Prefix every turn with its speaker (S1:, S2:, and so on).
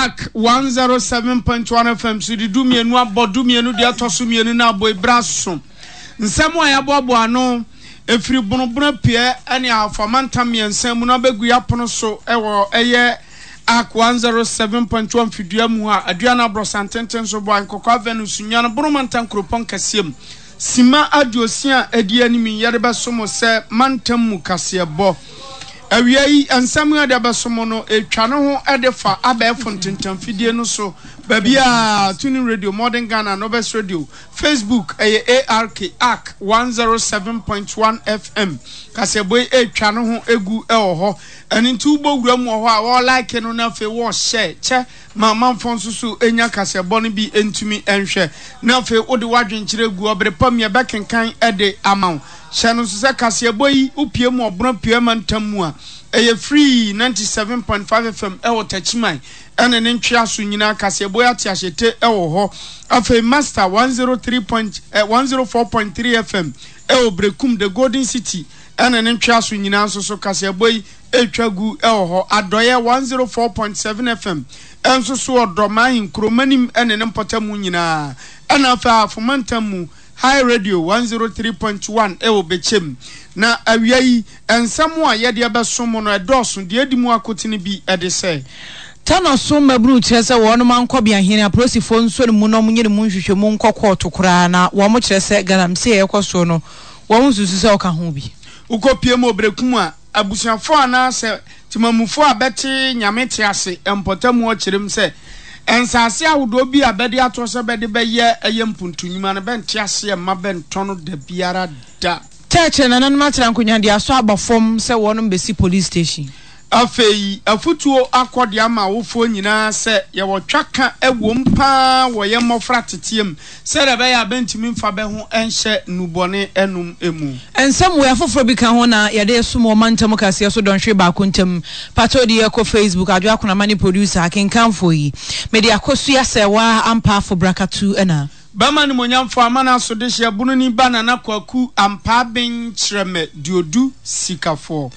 S1: Ark 107.1 FM so de dumienu abɔ dumienu deɛ ɛtɔ so mmienu no abɔ ebira so. Nsɛm a yɛaboaboa ano ɛfiri Bonobono Apueɛ ne Ahafo amantam mmiɛnsa mu no abɛgu yɛapono so wɔ ɛyɛ Ark 107.1 mfidua mu ha, Aduana Aborɔsantenten so, Boahe Nkɔkɔ Avenue, Sunyani, Bono Mantam Kuropɔn kɛseɛ mu. Simma aduosia a edi anim yi, yɛde bɛso mo sɛ mantam mu kaseɛbɔ. Awia yi, nsɛm a yɛde abɛso mo no, etwa ne ho de fa abɛɛfo ntentamfidie no so baabiara, TuneIn Radio, Modern Ghana, Novest Radio, Facebook, ɛyɛ ARK, ark 107.1 FM. Kaseɛbɔ yi etwa ne ho gu wɔ hɔ. Ɛno nti wobɔ wura mu wɔ hɔ a, wɔlike no na afei wɔhyɛ kyɛ ma amanfoɔ nso so nya kaseɛbɔ no bi ntumi nhwɛ, na afei wode w'adwenkyerɛ gu hɔ bere pa mu yɛbɛkenkan de ama wo. Hyɛ no nso sɛ kaseɛbɔ yi wopue mu ɔbono apueɛ mantam mu a, ɛyɛ free 97.5 FM wɔ Takyiman ne ne ntweaso nyinaa kaseɛbɔ yi ate ahyete wɔ hɔ. Afei Master 103. 104.3 FM wɔ Berekum, The Golden City ne ne ntweaso nyinaa nso so kaseɛbɔ yi retwa gu wɔ hɔ. Adɔeɛ 104.7 FM nso so wɔ Dɔm ahenkuro manim ne ne mpɔtamu nyinaa. Ɛna afei Ahafo mantam mu High Radio 103.1 wɔ Bɛkyɛm. Na awia yi, nsɛm a yɛde abɛso mo no ɛdɔɔso, deɛ ɛdi mu akotene bi de sɛ.
S2: Tano so mmabunu kyerɛ sɛ wɔnom ankɔ beahene apolisifoɔ nsɔ ne mu na wɔnyɛ ne mu nhwehwɛmu nkɔ kɔɔto koraa na wɔn kyerɛ sɛ galamsey a ɛrekɔ soɔ no wɔn nsusu sɛ ɔka ho bi.
S1: Wokɔpie mu wɔ Berekum a, Abusuafoɔ anaa sɛ temamufoɔ a bɛte Nyame te ase mpɔtamu hɔ kyerem sɛ nsaase ahodoɔ bi a bɛde atoɔ sɛ bɛde bɛyɛ ɛyɛ mpuntu nwuma no bɛnte aseɛ mma bɛntɔ no dabiara da.
S2: Kyerɛkyerɛ nananom atra nkonwa de asɔ aba fam sɛ wɔnom bɛsi police station.
S1: Afei afutuo akɔ de ama awofoɔ nyinaa sɛ yɛwɔ twaka wom pa ara wɔ yɛn mmɔfra teteɛ mu sɛdeɛ ɛbɛyɛ a bɛntumi mfa bɛ ho nhyɛ nnubɔne nom mu.
S2: Nsɛm wei afoforɔ bi ka ho na yɛde resom wɔ mantam kaseɛ so dɔnhwere baako ntam. Pakyɛw de yɛkɔ Facebook, Adwoa Akonama ne producer, akenkanfoɔ yi. Mede Akosua Serwaa Ampaafo Brakatu na.
S1: Bɛma animuonyamfoɔ amana so dehyeɛ bononi ba Nana Kwaku Ampaa Ben Kyerɛmɛ Duodu Sikafoɔ.